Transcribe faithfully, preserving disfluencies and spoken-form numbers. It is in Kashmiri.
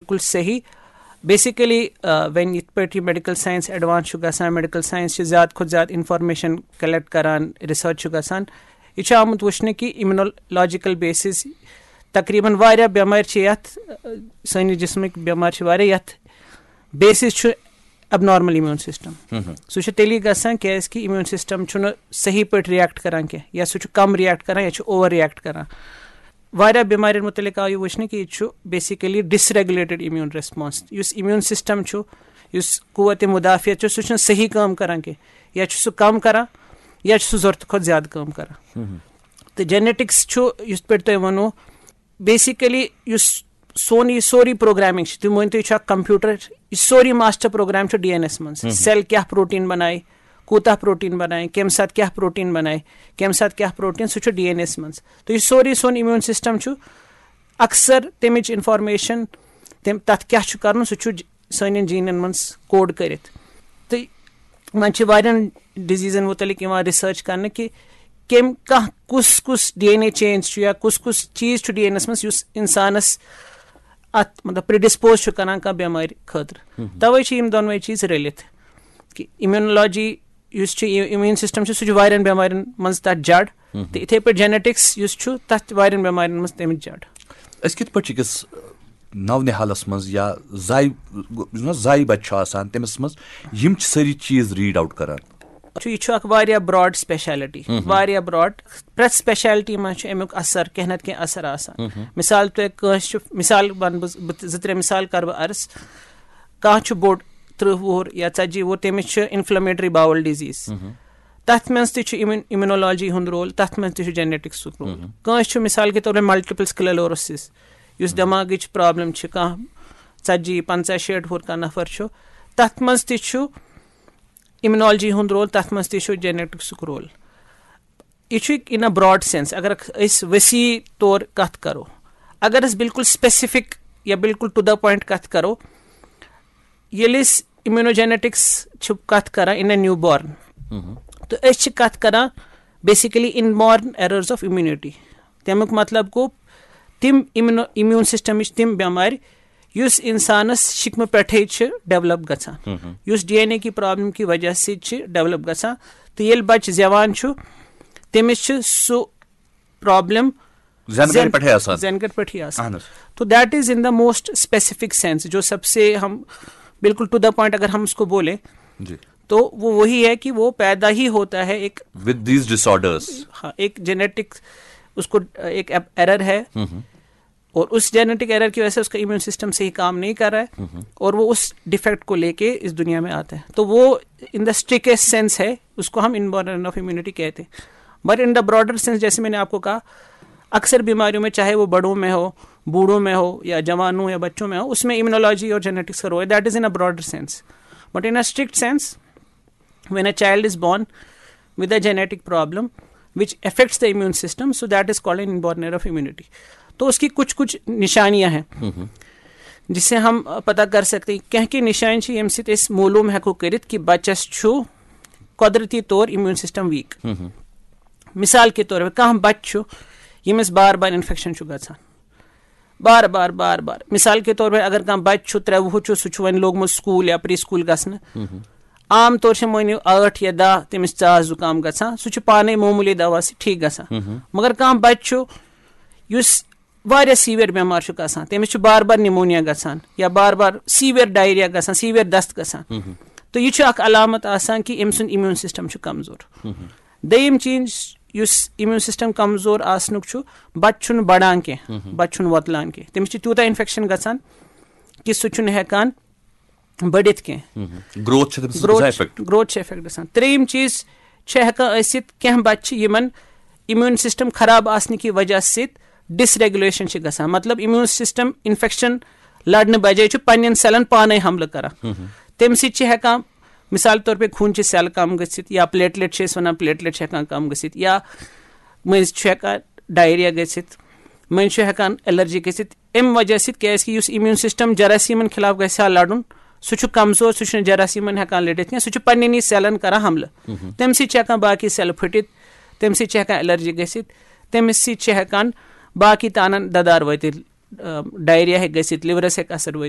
بالکل صحیح۔ بیسیکلی وین یِتھ پٲٹھۍ یہِ میڈیکل ساینس ایڈوانس چھُ گژھان، میڈیکل ساینس چھِ زیادٕ کھۄتہٕ زیادٕ انفارمیشن کلیکٹ کران، ریسرچ چھُ گژھان، یہِ چھُ آمُت وٕچھنہٕ کہِ امیونولوجیکل بیسز تقریباً واریاہ بٮ۪مارِ چھِ یتھ، سٲنِس جسمٕکۍ بٮ۪مارِ چھِ واریاہ، یتھ بیسز چھُ ابنارمل امیون سسٹم۔ سُہ چھُ تیٚلی گژھان کیازِ کہِ امیون سسٹم چھُنہٕ صحیح پٲٹھۍ ریئیکٹ کران کینٛہہ، یا سُہ چھُ کم ریئیکٹ کران یا چھُ اوور ریئیکٹ کران۔ واریاہ بٮ۪مارٮ۪ن متعلق آو یہِ وٕچھنہٕ کہِ یہِ چھُ بیسیکلی ڈس ریگولیٹڈ امیون ریسپانس۔ یُس امیون سسٹم چھُ، یُس قوت مدافعت چھُ، سُہ چھُنہٕ صحیح کٲم کران کینٛہہ، یا چھُ سُہ کم کران یا چھُ سُہ ضروٗرتہٕ کھۄتہٕ زیادٕ کٲم کران۔ تہٕ جینیٹکس چھُ، یُتھ پٲٹھۍ تۄہہِ ووٚنوُ، بیسیکلی یُس سون یہِ سورُے پروگرامنگ چھِ، تُہۍ مٲنِو تُہۍ چھُ اکھ کمپیوٹر، یہِ سورُے ماسٹر پروگرام چھُ ڈی این ایس منٛز۔ سیل کیٛاہ پروٹین بنایہِ، کوٗتاہ پروٹین بنایہِ، کمہِ ساتہٕ کیٛاہ پروٹین بنایہِ، کمہِ ساتہٕ کیٛاہ پروٹین، سُہ چھُ ڈی این ایس منٛز۔ تہٕ یہِ سورُے سون امیون سسٹم چھُ اکثر تمِچ انفارمیشن تم تتھ کیٛاہ چھُ کرُن، سُہ چھُ ج- سانٮ۪ن جینن منٛز کوڈ کٔرِتھ۔ تہٕ وۄنۍ چھِ واریاہن ڈیزیزن متعلق یِوان ریسرچ کرنہٕ کہِ کم کانٛہہ کُس کُس ڈی این اے چینج چھُ یا کُس کُس چیٖز چھُ ڈی این ایس منٛز یُس انسانس اتھ مطلب پریڈسپوز چھُ کران کانٛہہ بٮ۪مارِ خٲطرٕ۔ توے چھِ یِم دۄنوے چیٖز رٔلِتھ کہِ امیونولوجی یُس چھُ، امیون سسٹم چھُ، سُہ چھُ واریاہن بٮ۪مارٮ۪ن منٛز تتھ جڑ، تہٕ اِتھے پٲٹھۍ جینیٹکس یُس چھُ، تتھ چھِ واریاہن بٮ۪مارٮ۪ن منٛز تمِچ جڑ۔ أسۍ کِتھ پٲٹھۍ چھِ أکِس نو نِہالَس منٛز یا زایہِ، یُس زن زایہِ بچہِ چھُ آسان، تٔمِس منٛز یِم چھِ سٲری چیٖز ریڈ آوُٹ کران؟ چھُ، یہِ چھُ اکھ واریاہ براڈ سپیشلٹی، واریاہ براڈ۔ پرٛٮ۪تھ سپیشلٹی منٛز چھُ امیُک اثر، کینٛہہ نتہٕ کینٛہہ اثر آسان۔ مثال، تۄہہِ کٲنٛسہِ چھُ، مثال ونہٕ بہٕ، بہٕ زٕ ترٛےٚ مثال کرٕ بہٕ عرض۔ کانٛہہ چھُ بوٚڑ، تٕرٛہ وُہُر یا ژتجی وُہُر، تٔمِس چھُ انفلیمیٹری باول ڈیزیز۔ تتھ منٛز تہِ چھُ امیون-، امیونولوجی ہُنٛد رول، تتھ منٛز تہِ چھُ جینیٹکسُک رول۔ کٲنٛسہِ چھُ مثال کے طور پر ملٹیپل سکلیروسس، یُس دٮ۪ماغٕچ پرابلم چھِ، کانٛہہ ژتجی، پنٛژاہ، شیٹھ وُہُر کانٛہہ نفر چھُ، تتھ منٛز تہِ چھُ امیونولوجی ہُنٛد رول، تتھ منٛز تہِ چھُ جینیٹکسُک رول۔ یہِ چھُ in a broad sense۔ اگر أسۍ وسیع طور کتھ کرو، اگر أسۍ بالکل سپیسیفک یا بالکل ٹو دا پوینٹ کتھ کرو، ییٚلہِ أسۍ امیونوجینیٹکس چھِ کتھ کران in a newborn، تہٕ أسۍ چھِ کتھ کران basically inborn errors of immunity۔ تمیُک مطلب گوٚو تِم امیونو-، امیون سسٹمٕچ تِم بٮ۪مارِ یُس انسانس شکمہٕ پٮ۪ٹھے چھِ ڈیولپ گژھان، یُس ڈی این اے کی پرابلم کی وجہ سۭتۍ چھِ ڈیولپ گژھان۔ تہٕ ییٚلہِ بچہِ زٮ۪وان چھُ، تٔمِس چھُ سُہ پرابلم زٮ۪نہٕ گرِ پٮ۪ٹھے آسان۔ زٮ۪نہٕ گرِ پٮ۪ٹھٕے آسان۔ اہن حظ۔ تو that is in the most specific sense، جو سب سے ہم بالکل ٹو دا پوائنٹ اگر ہم اس کو بولیں، جی۔ تو وہ وہی ہے کہ وہ پیدا ہی ہوتا ہے ایک، with these disorders۔ ہاں، ایک جینیٹک، اس کو ایک ایرر ہے، اور اس جینیٹک ایرر کی وجہ سے اس کا امیون سسٹم صحیح کام نہیں کر رہا ہے، اور وہ اس ڈیفیکٹ کو لے کے اس دنیا میں آتا ہے۔ تو وہ ان دا اسٹرکٹسٹ سینس ہے، اس کو ہم انبورن آف امیونٹی کہتے ہیں۔ بٹ ان دا براڈر سینس، جیسے میں نے آپ کو کہا، اکثر بیماریوں میں، چاہے وہ بڑوں میں ہو، بوڑھوں میں ہو یا جوانوں یا بچوں میں ہو، اس میں امیونولوجی اور جینیٹکس کا رول ہے، that is in a broader sense. But in a strict sense, when a child is born with a genetic problem which affects the immune system, so that is called an inborn error of immunity. تو اس کی کچھ کچھ نشانیاں ہیں جس سے ہم پتہ کر سکتے ہیں کینٛہہ کینٛہہ نشان چھِ ییٚمہِ سۭتۍ أسۍ معلوم ہٮ۪کو کٔرِتھ کہِ بچس چھُ قۄدرتی طور امیون سسٹم ویک۔ مثال کے طور پر کانٛہہ بچہ چھُ ییٚمِس بار بار انفیکشن چھُ گژھان، بار بار بار بار۔ مثال کے طور پر اگر کانٛہہ بچہ چھُ ترٛےٚ وُہُر چھُ، سُہ چھُ وۄنۍ لوگمُت سکول یا پری سکول گژھنہٕ، عام طور چھِ مٲنِو ٲٹھ یا دَہ تٔمِس ژاس زُکام گژھان، سُہ چھُ پانے معموٗلی دوا سۭتۍ ٹھیٖک گژھان۔ مگر کانٛہہ بچہ چھُ یُس واریاہ سیویئر بٮ۪مار چھُ گژھان، تٔمِس چھُ بار بار نمونیا گژھان یا بار بار سیویئر ڈائریا گژھان، سیویئر دست گژھان۔ تو یہِ چھُ اکھ علامت آسان کہِ أمۍ سُنٛد امیون سسٹم چھُ کمزور۔ دوٚیِم چیٖز، یُس امیون سسٹم کمزور آسنُک چھُ، بچہِ چھُنہٕ بڑان کینٛہہ، بچہِ چھُنہٕ وۄتلان کینٛہہ، تٔمِس چھُ تیوٗتاہ انفیکشن گژھان کہِ سُہ چھُنہٕ ہیٚکان بٔڑِتھ کینٛہہ۔ گروتھ چھِ تٔمِس گژھان افیکٹ۔ گروتھ چھِ افیکٹ گژھان۔ ترٛیٚیِم چیٖز چھِ ہیٚکان ٲسِتھ، کینٛہہ بچہِ چھِ یِمن امیون سسٹم خراب آسنہٕ کہِ وجہ سۭتۍ ڈس ریگولیشن چھِ گژھان، مطلب امیون سسٹم انفیکشن لڑنہٕ بجایہِ چھُ پننٮ۪ن سیلن پانے حملہٕ کران۔ تمہِ سۭتۍ چھِ ہیٚکان مثال طور پہ خوٗنچہِ سیل کم گٔژھِتھ یا پلیٹلیٹ چھِ أسۍ ونان، پلیٹلیٹ چھِ ہیٚکان کم گٔژھِتھ یا مٔنٛزۍ چھُ ہیٚکان ڈائریا گٔژھِتھ، مٔنٛزۍ چھُ ہیٚکان الرجی گٔژھِتھ۔ امہِ وجہ سۭتۍ، کیازِ کہِ یُس امیون سسٹم جراثیمن خلاف گژھِ ہا لڑُن، سُہ چھُ کمزور، سُہ چھُنہٕ جراثیمن ہیٚکان لٔڑِتھ کینٛہہ، سُہ چھُ پننٮ۪نٕے سیلن کران حملہٕ۔ تمہِ سۭتۍ چھِ ہیٚکان باقی سیل پھٔٹِتھ، تمہِ سۭتۍ چھِ ہیٚکان الرجی گٔژھِتھ، تمہِ سۭتۍ چھِ ہیٚکان باقی تانن ددار وٲتِتھ۔ ڈائریا ہیٚکہِ گٔژھِتھ، لِورَس ہیٚکہِ اثر وٲتِتھ۔